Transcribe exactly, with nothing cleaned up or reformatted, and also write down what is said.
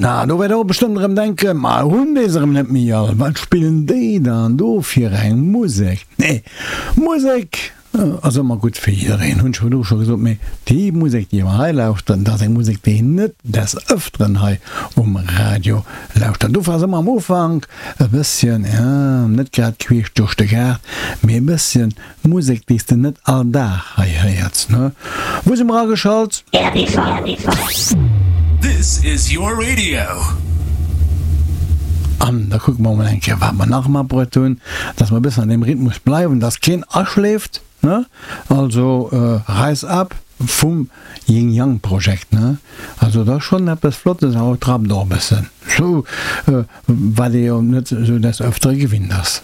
Na, do wäert der och bestëmmt erëm denken, Ma hunn déi se erëm net méi all? Wat spillen déi dann do fir eng Musek? Nee, Musek ass ëmmer gutt fir jiddereen, hunn ech virdru scho gesot. Mee déi Musek, déi mer hei lauschteren, dat ass eng Musek, déi een net des Ëfteren hei um Radio lauschtert. Dofir ass ëmmer am Ufank e bësschen, jo, net grad queesch duerch de Gaart, mee e bësschen Musek déi s de net all Dag hei héiers, ne? Wou si mer ageschalt? This is your radio. An da kucke mer mol eng Kéier wat mer nach matbruet hunn, dass mer e bëssen an deem Rhythmus bleiwen, dass keen aschléift, ne? Also Rise Up vum Ying Yang Projekt, ne? Also dat ass schonn eppes Flottes a et rappt och e bëssen, sou wat ee jo net sou des Ëftere gewinnt ass.